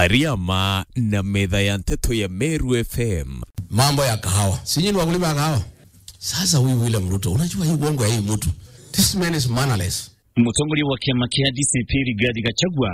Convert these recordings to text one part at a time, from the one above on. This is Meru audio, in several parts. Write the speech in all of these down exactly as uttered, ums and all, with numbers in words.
Ariama na metha ya nteto ya Meru F M. Mambo ya kahawa. Si nyinyi ni wakulima ya kahawa? Sasa huyu William Ruto, unajua hii uongo ya hii mtu. This man is mannerless. Mutongoria wa kiama kia D C P Rigathi Gachagua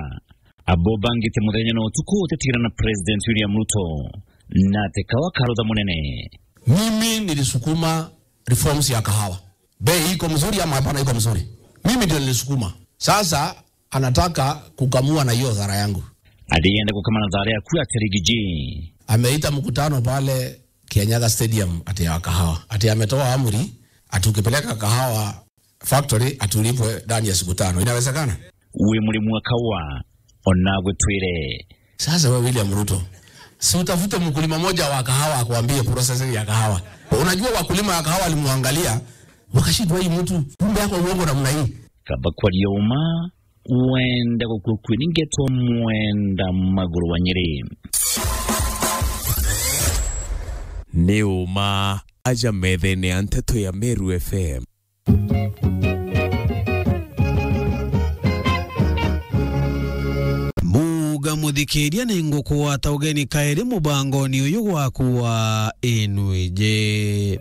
abobangite muthenya na utuku utitigana na President William Ruto na ati kawa karutha munene. Mimi nilisukuma reforms ya kahawa. Bei iko mzuri ama hapana iko mzuri? Mimi ndio nilisukuma. Sasa anataka kukamua na hiyo dhara yangu. Ati yenda gukama na thara yaku ati Rigiji. Ameita mkutano pale Kianyaga Stadium ati ya kahawa. Ati ametoa amri ati ukipeleka kahawa factory ati ulipwe ndani ya siku tano. Inawezekana? Wi murimi wa kawa, onagwe twire. Sasa wewe William Ruto, si utafute mkulima moja wa kahawa akuambie processing ya kahawa. Unajua wakulima ya kahawa walimwangalia, wakashindwa, "Hii mtu, kumbe yako uongo namna hii." Kaba kwaria uma, wenda gukua kwi ni ngeto mwenda maguru wa Nyeri. Ni uma aja methene ya nteto ya Meru F M. Muga muthikiria, ni ngukugwata ugeni kairi mubangoni uyu gwaku wa Inuiji.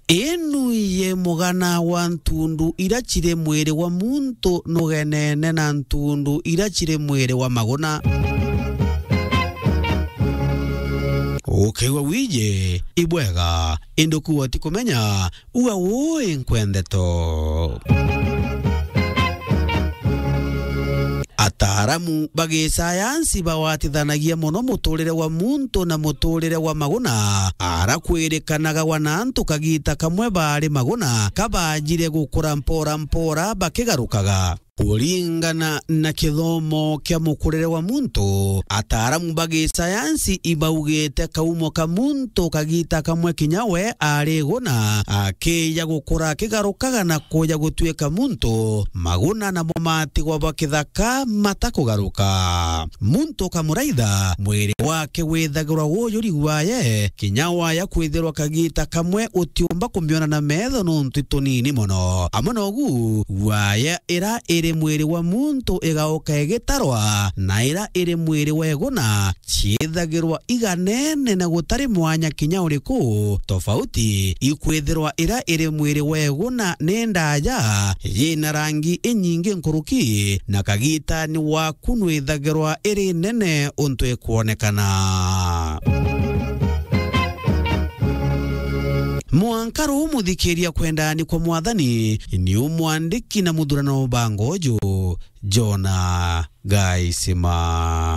Inuiji mugana wa ntundu ira ciri mwiri wa muntu nugenene na ntundu ira ciri mwiri wa maguna. Ukiigua wiji, ibwega, indi kuuga utikumenya, uga ui nkwendeto. Ataaramu ba gisayansi bawatithanagia mono muturire wa muntu na muturire wa maguna, ara kwirikanaga wana antu kagita kamwe baari maguna, kabanjire gukura mpora mpora bakigarukaga. Kuringana na kithomo kia mukurire wa muntu, ataaramu ba gisayansi ibaugite kaumo ka muntu kagita kamwe kinya we ari iguna, akija gukura akigarukaga na kuja gutuika muntu, maguna namo matigwa ba kithaka matakugaruka. Muntu ukamuraitha, mwiri wake withagirwa wujuri gwaye, kinya waya kwithirwa kagita kamwe utiumba kumiona na metho nontu itunini mono. Amwe nogu, waya ira iri mwiri wa muntu igauka igitarwa, na ira iri mwiri wa iguna ciithagirwa iganene na gutari mwanya kinya uriku. Tofauti ikwithirwa ira iri mwiri wa iguna ni ndaja, yina rangi inyingi nkuruki, na kagitani waku nwithagirwa iri nene untu ikwonekana. Mwanka ruu muthikiria kwendani kwa Mwathani, ni umwandiki na muthurano bango uju, Jona Gaisima.